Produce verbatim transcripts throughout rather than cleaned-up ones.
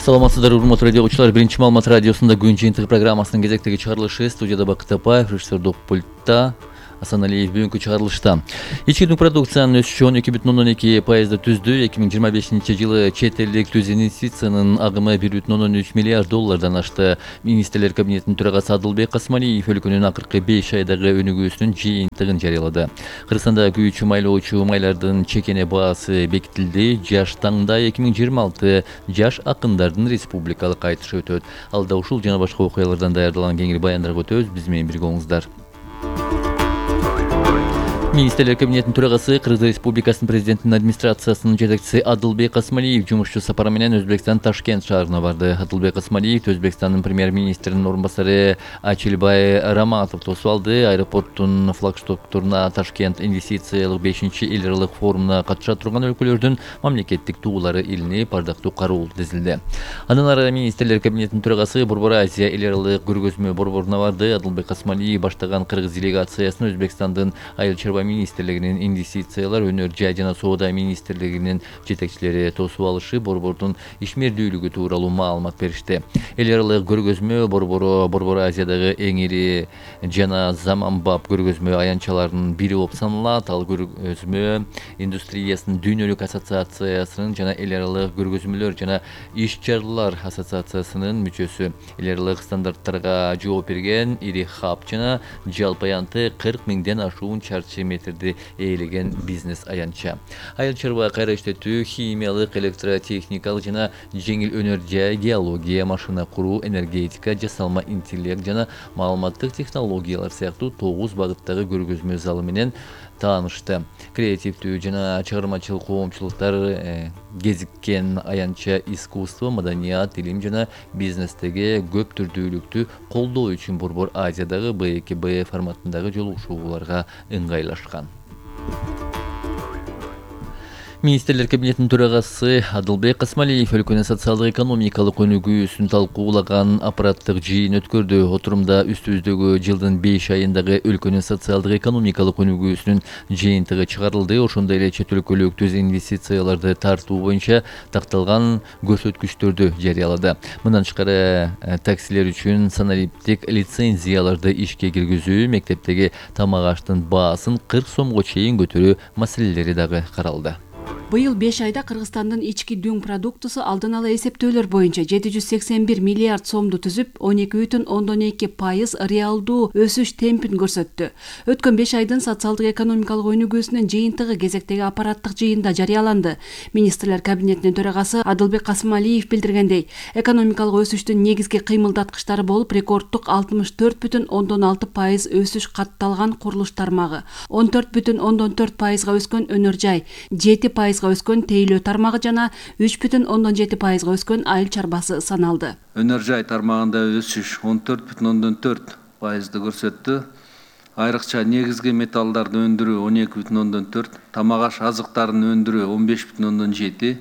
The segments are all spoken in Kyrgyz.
Саламатсыздар, урматтуу радио угуучулар. Биринчи маалымат радиосунда күн жыйынтыгы программасынын кезектеги чыгарылышы. Студияда Бакыт Апаев, режиссердик пультта Асаналиев. Бүгүнкү чыгарылышта ички продукциянын өсүшү он эки бүтүн ондон эки пайызды түздү. эки миң жыйырма бешинчи жылы чет элдик түз инвестициянын агымы бир бүтүн ондон үч миллиард доллардан ашты. Министрлер кабинетинин төрагасы Адылбек Касмалиев өлкөнүн акыркы беш айдагы өнүгүүсүнүн жыйынтыгын жарыялады. Кыргызстанда күйүүчү майлоочу майлардын чекене баасы бекитилди. Жаш таңда эки миң жыйырма алты жаш акындардын республикалык айтышы өтөт. Алда ушул жана башка окуялардан даярдалган кеңири баяндарга өтөбүз. Биз менен бирге болуңуздар. Министрлер кабинетинин төрагасы, Кыргыз Республикасынын президентинин администрациясынын жетекчиси Адылбек Касмалиев жумушчу сапары менен Өзбекстан Ташкент шаарына барды. Адылбек Касмалиев Өзбекстандын премьер-министринин орун басары Ачилбай Раматов тосуп алды. Аэропорттун флагштокторуна Ташкент инвестициялык бешинчи эл аралык форумуна катыша турган өлкөлөрдүн мамлекеттик туулары илинип, бардактуу кароо тизилди. Андан ары министрлер кабинетинин төрагасы Борбор Азия эл аралык көргөзмө борборуна барды. Адылбек Касмалиев баштаган Кыргыз делегациясын Өзбекстандын айыл чарба министрлигинин инвестициялар, өнөр жай жана соода министрлигинин жетекчилери тосуп алышы, борбордун ишмердүүлүгү тууралуу маалымат беришти. Эл аралык көргөзмө борбору Борбор Азиядагы эң ири жана заманбап көргөзмө аянтчаларынын бири болуп саналат. Ал көргөзмө индустриясынын дүйнөлүк ассоциациясынын жана эл аралык көргөзмөлөр жана иш-чаралар ассоциациясынын мүчөсү. Эл аралык стандарттарга жооп берген ири хаб жана жалпы аянты кырк миңден ашуун чарчы метрди ээлеген бизнес аянтча. Айыл чарба кайра иштетүү, химиялык, электротехникалык жана жеңил өнөр жай, геология, машина куруу, энергетика, жасалма интеллект жана маалыматтык технологиялар сыяктуу тогуз багыттагы көргөзмө залы менен таанышты. Креативдүү жана чыгармачыл коомчулуктар кезиккен аянтча искусство, маданият, илим жана бизнестеги көп түрдүүлүктү колдоо үчүн Борбор Азиядагы Б эки Б форматындагы жолугушууларга ыңгайлашкан. Министрлер кабинетинин төрагасы Адылбек Касмалиев өлкөнүн социалдык экономикалык өнүгүүсүн талкуулаган аппараттык жыйын өткөрдү. Отурумда үстүбүздөгү жылдын беш айындагы өлкөнүн социалдык экономикалык өнүгүүсүнүн жыйынтыгы чыгарылды. Ошондой эле чет өлкөлүк түз инвестицияларды тартуу боюнча такталган көрсөткүчтөрдү жарыялады. Мындан тышкары таксилер үчүн санариптик лицензияларды ишке киргизүү, мектептеги тамак аштын баасын кырк сомго чейин көтөрүү маселелери дагы каралды. Быйыл беш айда Кыргызстандын ички дүң продуктусу алдын ала эсептөөлөр боюнча жети жүз сексен бир миллиард сомду түзүп, он эки бүтүн ондон эки пайыз реалдуу өсүш темпин көрсөттү. Өткөн беш айдын социалдык экономикалык өнүгүүсүнүн жыйынтыгы кезектеги аппараттык жыйында жарыяланды. Министрлер кабинетинин төрагасы Адылбек Касмалиев билдиргендей, экономикалык өсүштүн негизги кыймылдаткычтары болуп рекорддук алтымыш төрт бүтүн ондон алты пайыз өсүш катталган курулуш тармагы, он төрт бүтүн ондон төрт пайызга өскөн өнөр жай, жети пайызга өскөн тейлөө тармагы жана үч бүтүн ондон жети пайызга өскөн айыл чарбасы саналды. Өнөр жай тармагында өсүш он төрт бүтүн ондон төрт пайызды көрсөттү. Айрыкча негизги металлдарды өндүрүү он эки бүтүн ондон төрт, тамак аш азыктарын өндүрүү он беш бүтүн ондон жети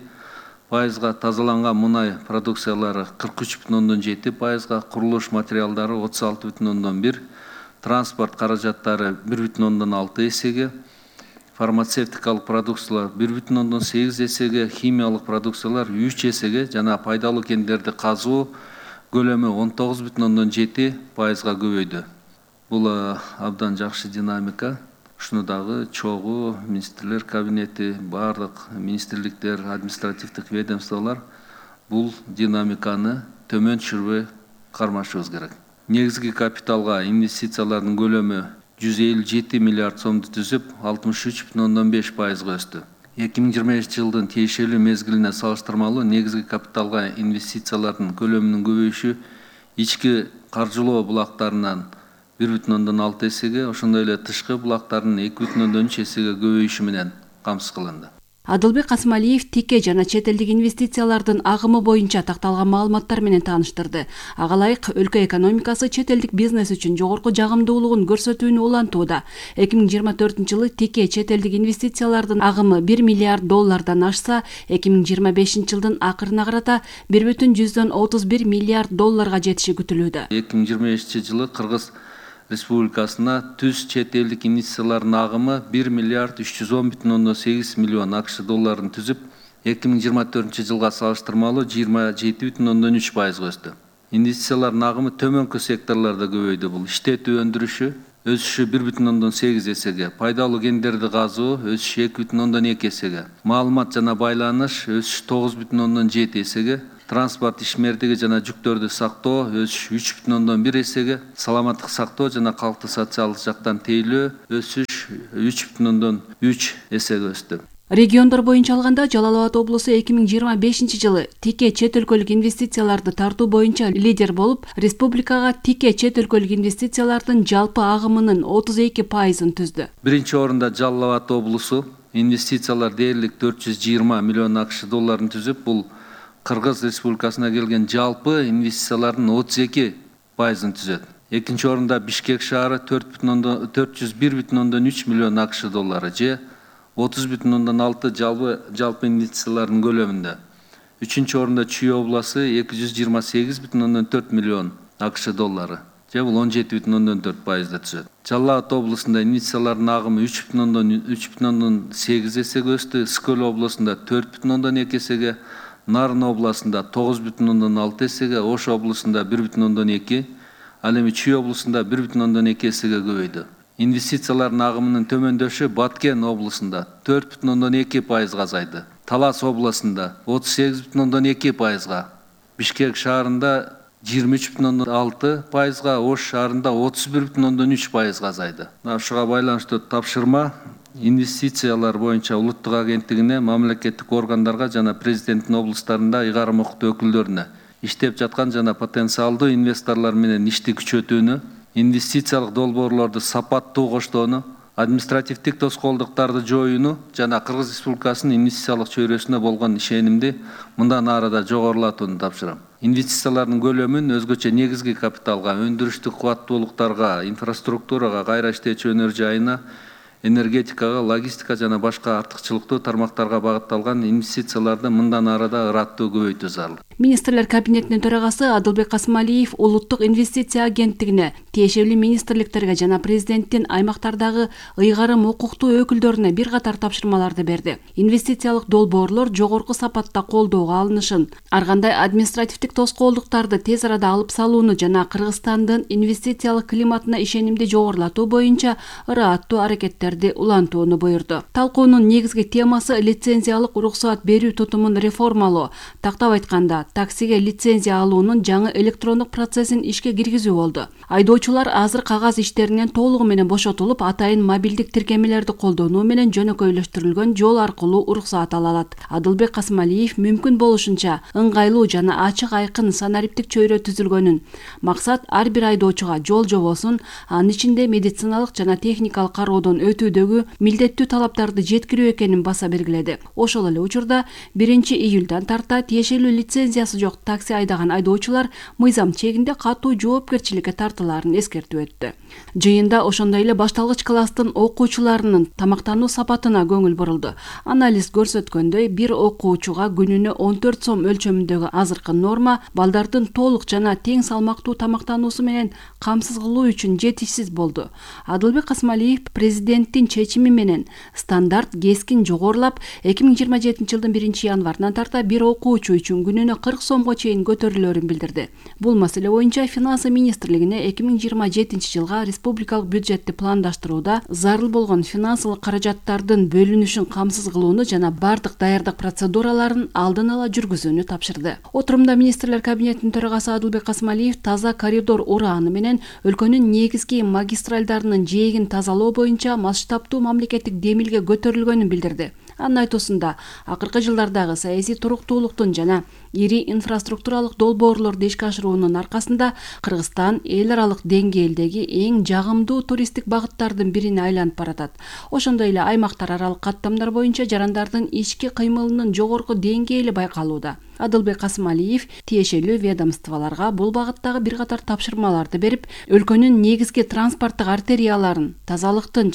пайызга, тазаланган мунай продукциялары кырк үч бүтүн ондон жети пайызга, курулуш материалдары отуз алты бүтүн ондон бир, транспорт каражаттары бир бүтүн ондон алты эсеге, фармацевтикалык продукциялар бир бүтүн ондон сегиз эсеге, химиялык продукциялар үч эсеге жана пайдалуу кендерди казуу көлөмү он тогуз бүтүн ондон жети пайызга көбөйдү. Бул абдан жакшы динамика. Ушуну дагы чогуу министрлер кабинети, бардык министрликтер, административдик ведомстволор бул динамиканы төмөн түшүрбөй кармашыбыз керек. Негизги капиталга инвестициялардын көлөмү жүз элүү жети миллиард сомду түзүп, алтымыш үч бүтүн ондон беш пайызга өстү. эки миң жыйырма бешинчи жылдын тиешелүү мезгилине салыштырмалуу негизги капиталга инвестициялардын көлөмүнүн көбөйүшү ички каржылоо булактарынан бир бүтүн ондон алты эсеге, ошондой эле тышкы булактардын эки бүтүн ондон үч эсеге көбөйүшү менен камсыз кылынды. Адылбек Касмалиев тике жана чет элдик инвестициялардын агымы боюнча такталган маалыматтар менен тааныштырды. Ага ылайык өлкө экономикасы чет элдик бизнес үчүн жогорку жагымдуулугун көрсөтүүнү улантууда. эки миң жыйырма төртүнчү жылы тике чет элдик инвестициялардын агымы бир миллиард доллардан ашса, эки миң жыйырма бешинчи жылдын акырына карата бир бүтүн жүздөн отуз бир миллиард долларга жетиши күтүлүүдө. эки миң жыйырма бешинчи жылы Кыргыз Республикасына түз чет элдик инвестициялардын агымы бир миллиард үч жүз он бүтүн ондон сегиз миллион акш долларын түзүп, эки миң жыйырма төртүнчү жылга салыштырмалуу жыйырма жети бүтүн ондон үч пайызга өстү. Инвестициялардын агымы төмөнкү секторлордо көбөйдү. Бул иштетүү өндүрүшү өсүшү бир бүтүн ондон сегиз эсеге, пайдалуу кендерди казуу өсүшү эки бүтүн ондон эки эсеге, маалымат жана байланыш өсүшү тогуз бүтүн ондон жети эсеге, транспорт ишмердиги жана жүктөрдү сактоо өсүш үч бүтүн ондон бир эсеге, саламаттык сактоо жана калктуу социалдык жактан тейлөө өсүш үч бүтүн ондон үч эсеге өстү. Региондор боюнча алганда Жалал Абад облусу эки миң жыйырма бешинчи жылы тике чет өлкөлүк инвестицияларды тартуу боюнча лидер болуп, республикага тике чет өлкөлүк инвестициялардын жалпы агымынын отуз эки пайызын түздү. Биринчи орунда Жалал Абад облусу инвестициялар дээрлик төрт жүз жыйырма миллион акш долларын түзүп, бул Кыргыз Республикасына келген жалпы инвестициялардын отуз эки пайызын түзөт. Экинчи орунда Бишкек шаары төрт жүз бир бүтүн ондон үч миллион акш доллары же отуз бүтүн ондон алты жалпы жалпы инвестициялардын көлөмүндө. Үчүнчү орунда Чүй обласу эки жүз жыйырма сегиз бүтүн ондон төрт миллион акш доллары же бул он жети бүтүн ондон төрт пайызды түзөт. Жалал Абад облусунда инвестициялардын агымы үч бүтүн ондон сегиз эсеге өстү, Ысык-Көл облусунда төрт бүтүн ондон эки эсеге, Нарын облусунда тогуз бүтүн ондон алты эсеге, Ош облусунда бир бүтүн ондон эки, ал эми Чүй облусунда бир бүтүн ондон эки эсеге көбөйдү. Инвестициялардын агымынын төмөндөшү Баткен облусунда төрт бүтүн ондон эки пайызга азайды. Талас облусунда отуз сегиз бүтүн ондон эки пайызга, Бишкек шаарында жыйырма үч бүтүн ондон алты пайызга, Ош шаарында отуз бир бүтүн ондон үч пайызга азайды. Ушуга байланыштуу тапшырма инвестициялар боюнча улуттук агенттигине, мамлекеттик органдарга жана президенттин облустарында ыйгарым укуктуу өкүлдөрүнө иштеп жаткан жана потенциалдуу инвесторлор менен ишти күчөтүүнү, инвестициялык долбоорлорду сапаттуу коштоону, административдик тоскоолдуктарды жоюуну жана Кыргыз Республикасынын инвестициялык чөйрөсүнө болгон ишенимди мындан ары да жогорулатууну тапшырам. Инвестициялардын көлөмүн өзгөчө негизги капиталга, өндүрүштүк кубаттуулуктарга, инфраструктурага, кайра иштечү өнөр жайына, энергетикага, логистика жана башка артыкчылыктуу тармактарга багытталган инвестицияларды мындан ары да ыраттуу көбөйтүү зарыл. Министрлер кабинетинин төрагасы Адылбек Касмалиев Улуттук инвестиция агенттигине, тиешелүү министрликтерге жана президенттин аймактардагы ыйгарым укуктуу өкүлдөрүнө бир катар тапшырмаларды берди. Инвестициялык долбоорлор жогорку сапатта колдоого алынышын, ар кандай административдик тоскоолдуктарды тез арада алып салууну жана Кыргызстандын инвестициялык климатына ишенимди жогорулатуу боюнча ыраттуу аракеттерди улантууну буйрду. Талкуунун негизги темасы лицензиялык уруксаат берүү тутумун реформалоо, тактап айтканда таксиге лицензия алуунун жаңы электрондук процессин ишке киргизүү болду. Айдоочулар азыр кагаз иштеринен толугу менен бошотулуп, атайын мобилдик тиркемелерди колдонуу менен жөнөкөйлөштүрүлгөн жол аркылуу уруксаат ала алат. Адылбек Касмалиев мүмкүн болушунча ыңгайлуу жана ачык айкын санариптик чөйрө түзүлгөнүн, максат ар бир айдоочуга жол жобосун, анын ичинде медициналык жана техникалык кароодон өтүүдөгү милдеттүү талаптарды жеткирүү экенин баса белгиледи. Ошол эле учурда биринчи июлдан тарта тиешелүү лицензиясы жок такси айдаган айдоочулар мыйзам чегинде катуу жоопкерчиликке тартылаарын эскертип өттү. Жыйында ошондой эле башталгыч класстын окуучуларынын тамактануу сапатына көңүл бурулду. Анализ көрсөткөндөй, бир окуучуга күнүнө он төрт сом өлчөмүндөгү азыркы норма балдардын толук жана тең салмактуу тамактануусу менен камсыз кылуу үчүн жетишсиз болду. Адылбек Касмалиев президенттин чечими менен стандарт кескин жогорулап, эки миң жыйырма жетинчи жылдын биринчи январынан тарта бир окуучу үчүн күнүнө кырк сомго чейин көтөрүлөөрүн билдирди. Бул маселе боюнча Финансы министрлигине эки миң жыйырма жетинчи жылга республикалык бюджетти пландаштырууда зарыл болгон финансылык каражаттардын бөлүнүшүн камсыз кылууну жана бардык даярдык процедураларын алдын ала жүргүзүүнү тапшырды. Отурумда министрлер кабинетинин төрагасы Адылбек Касмалиев таза коридор урааны менен өлкөнүн негизги магистралдарынын жээгин тазалоо боюнча масштабтуу мамлекеттик демилге көтөрүлгөнүн билдирди. Анын айтуусунда, акыркы жылдардагы саясий туруктуулуктун жана ири инфраструктуралык долбоорлорду ишке ашыруунун аркасында Кыргызстан эл аралык деңгээлдеги эң жагымдуу туристтик багыттардын бирине айланып баратат. Ошондой эле аймактар аралык каттамдар боюнча жарандардын ички кыймылынын жогорку деңгээли байкалууда. Адылбек Касмалиев тиешелүү ведомстволорго бул багыттагы бир катар тапшырмаларды берип, өлкөнүн негизги транспорттук артерияларын тазалыктын